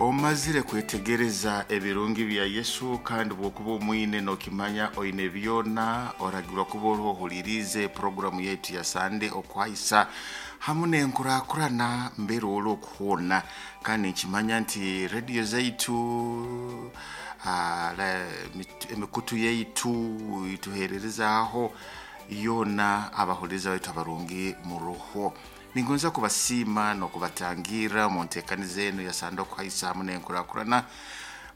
Omazire kwetegereza ebirungi bya Yesu, kandi bwokuba omwine nokimanya oine byona, oragirwa kuba oriho ohuliriize puroguramu yaitu ya Sande okwahisa hamu n'enkurakurana mbere ori okuhoona. Kandi nkimanya nti rediyo zaitu, emikutu yaitu ituhererezaaho yoona, abahuliriza baitu abarungi muruho. Ningonza kubasiima n'okubatangirra omu nteekaniza enu ya Sande okuhaisa hamu n'enkurakurana.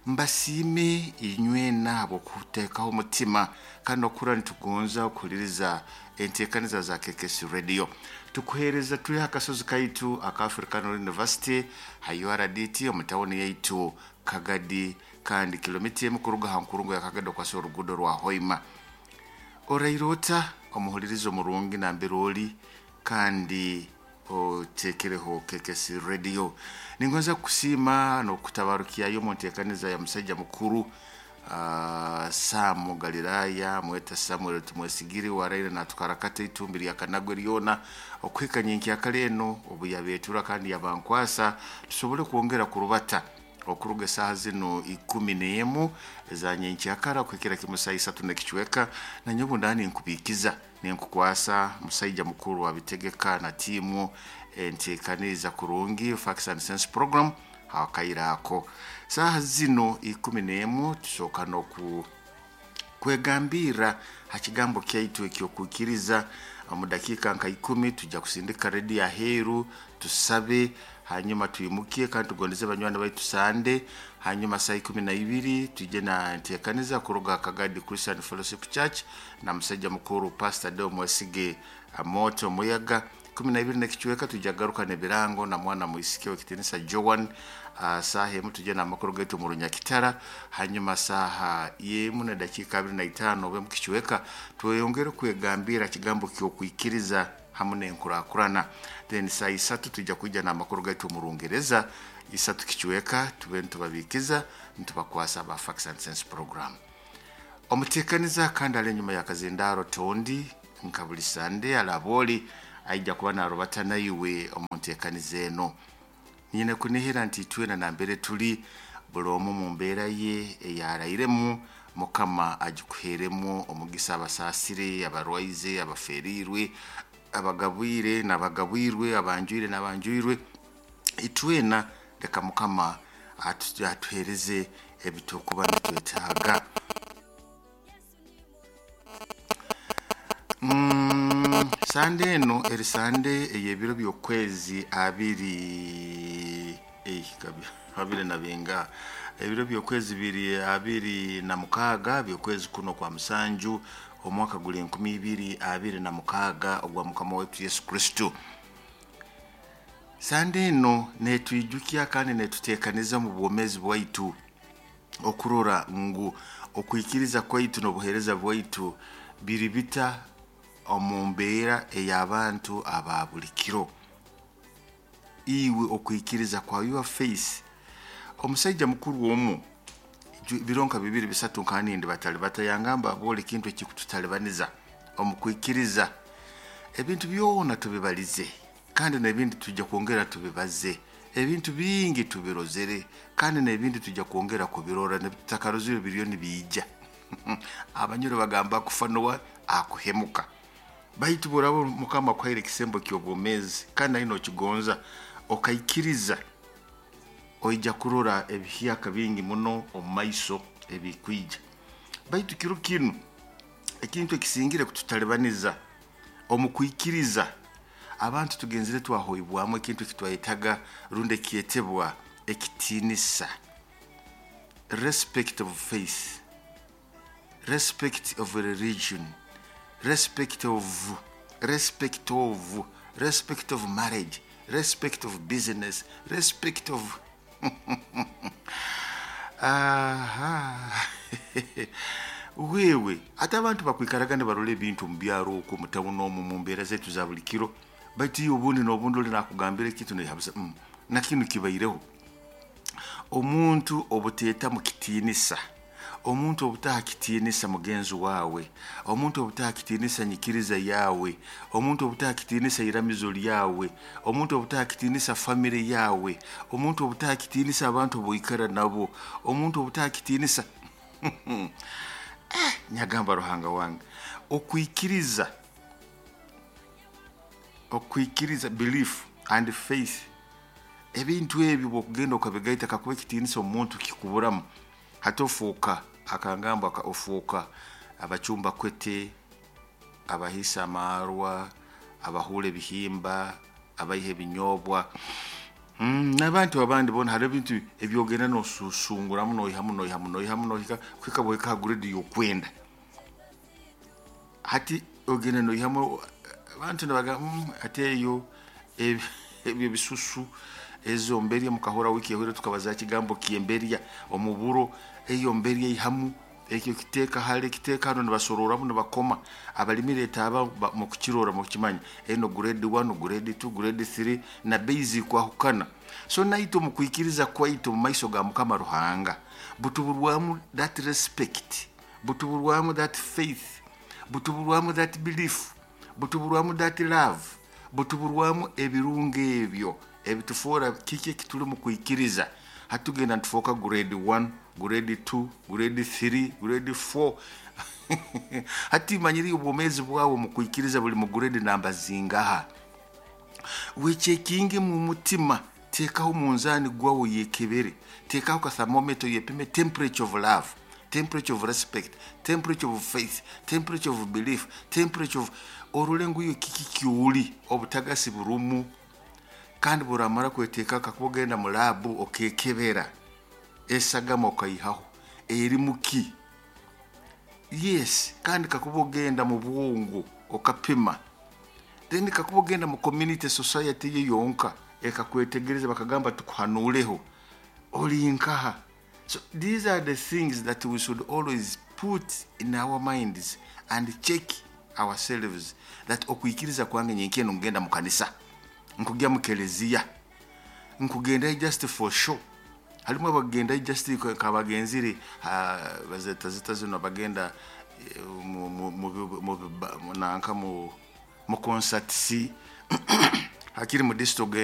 Mbasiime inywena habw'okuteekaho omutima kandi n'okuhurra nitugonza okuhuliriza enteekaniza za KKC Radio. Tukuheereza tuli ha kasozi kaitu aka Africano University ha URDT omu tawuni yaitu Kagadi, kandi kilomita emu kuruga ha nkurungo ya Kagadi okwasa oruguudo rwa Hoima. Oraire ota omuhuliriza omurungi nambere oli kandi oteekereho KKC Radio? Ningonza kukusiima n'okutabarukyayo omu nteekaniza ya musaija mukuru Sam Galilaya, mweta Samuel Tumwesigire, waraire natukarakata itumbi lya Kanagwe lyona okuhika nyenkyakara eno obu yabeetura kandi yabankwasa tusobole kwongera kurubata okuruga esaaha zinu 11 eza nyenkyakara kuhikira kimu saa 3 n'ekicweka. Nanyowe obu ndaba ninkubiikiza, ninkukwasa musaija mukuru abitegeka na tiimu enteekaniza kurungi Facts and Sense program hakaire ako. Saaha zinu 11 tusooka n'oku kwegambirra ha kigambo kyaitu eky'okwikiriza. Omu dakiika nka 10 tujja kusindika rediyo aheeru tusabe, hanyuma twimukye kandi tugondeze banywani baitu Sande. Hanyuma saa 12 tujye na nteekaniza kuruga Kagadi Christian Fellowship Church na musaija mukuru Pastor Deo Mwesige Moto Muyaga. 12 n'ekicweka tujja kugaruka n'ebirango na mwana mwisiki w'ekitiinisa Joan. Saaha 1 tujye n'amakuru gaitu omu Runyakitara. Hanyuma saaha 1 na dakiika 25 obe mu kicweka tweyongere kwegambira kigambo ky'okwikiriza hamu n'enkurakurana. Then saa 3 tujja kwija n'amakuru gaitu omu Rungereza, 3 kicweka tube nitubabiikiza nitubakwasa aba Facts and Sense program. Omuteekaniza kandi ali enyuma ya kazindaaro Tondi nka buli Sande alabooli aija kuba narubata naiwe omu nteekaniza eno. Nyine kunihira nti itwena nambere tuli, buli omu mu mbeera ye eyarairemu, Mukama agikuheeremu omugisa, abasaasire, abarwaize, abaferiirwe, abagabwire n'abagabwirwe, abanjwire n'abanjwirwe. Itwena leka Mukama atuheereze ebiturukuba nitwetaaga. Sande eno eri Sande ey'ebiro by'okwezi abiri abiri na binga, ebiro by'okwezi biri 26 by'okwezi kuno kwa musanju, omwaka guli 2026 ogwa Mukama waitu Yesu Kristo. Sande eno netwijukya kandi netuteekaniza omu bwomeezi bwaitu okurora ngu okwikiriza kwaitu n'obuheereza bwaitu biri bita omu mbeera ey'abantu aba buli kiro. Iwe okwikiriza kwa your faith. Omusaija mukuru omu biro nka 2 3 nkanindi batali batayangamba boli ekintu ekikututalibaniza omu kwikiriza. Ebintu byona tubibalize kandi n'ebindi tujja kwongera tubibaze. Ebintu bingi tubirozere kandi n'ebindi tujja kwongera kubirora, nebitutakarozire biriyo nibiija. Abanyoro bagamba akufa nowa akuhemuka. Baitu bworaba Mukama akuhaire ekisembo ky'obwomeezi kandi nawe nokigonza okaikiriza, oija kurora ebihyaka bingi muno omu maiso ebikwija. Baitu kiro kinu ekintu ekisingire kututalibaniza omu kwikiriza, abantu tugenzere twahoibwamu ekintu ekitwayetaga rundi ekyetebwa ekitiinisa, respect of faith, respect of religion, respect of, respect of, respect of marriage, respect of business, respect of aha wewe ate abantu bakwikaraga nibarora ebintu omu byaro okwo omu tawuni omu mu mbeera zaitu za buli kiro, baitu iwe obundi n'obundi oli nakugambira ekintu noihabuza na kinu kibaireho. Omuntu obuteetamu kitiinisa, Omuntu obutaha kitiinisa mugenzi wawe, omuntu obutaha kitiinisa nyikiriza yawe, omuntu obutaha kitiinisa iramizo lyawe, omuntu obutaha kitiinisa famire yawe, omuntu obutaha kitiinisa abantu boikara nabo, omuntu obutaha kitiinisa nyagamba Ruhanga wange, okwikiriza, okwikiriza, belief and faith, ebintu ebyo bwokugenda okabigaita, kakuba ekitiinisa omuntu kikuburamu, hati ofuuka akangamba ofuuka abacumba kwete, abahisa amarwa, abahura ebihimba, abaiha ebinyobwa, n'abantu abandi bona. Hariho ebintu ebyogenda nosusunguramu, noihamu, noihamu, noihamu, nohika kuhika bweka ha grade y'okwenda. Hati ogenda noihamu, abantu nibagamba, ati eyo ebyo bisusu, ezo mberya." Mukahura wiki ehwire tukabaza kigambo kyemberya omuburo. Eyo mberya ihamu ekyo, kiteeka hale, kiteeka hano, nibasororamu, nibakoma abalimire etaaba mukukirora, mukukimanya eno grade 1, grade 2, grade 3, na bei zikwahukana. So naitwe mukwikiriza kwaitu mu maiso ga Mukama Ruhanga butuburwamu that respect, butuburwamu that faith, butuburwamu that belief, butuburwamu that love, butuburwamu ebirungo ebyo ebitufoora kiki ekituli mu kwikiriza. Hatugenda nitufoka grade 1, grade 2, grade 3, grade 4. Hati manyiri obwomeezi bwawe mu kwikiriza buli mu grade namba zingaha? Wechekinge mu mutima, teekaho munzani gwawe yekebere, teekaho ka thermometer yepime temperature of love, temperature of respect, temperature of faith, temperature of belief, temperature of orole ngu iyo kiki kyuli obutagasi burumu. Kandi buramara kweteeka, kakuba ogenda mu lab okekebera esagama okaihaho eri muki? Yes. Kandi kakuba ogenda mu bwongo okapima, then kakuba ogenda mu community, society ye yonka ekakwetegereza, bakagamba tukuhanuleho, oli nkaha? So these are the things that we should always put in our minds and check ourselves, that okwikiriza kwange nyenkeno ngenda mu kanisa, nkugya mu keleziya, nkugenda just for show. Halimu abagenda just kabagenzire bazeta zita zino, bagenda mu nanka mu concerts, hakiri mu district.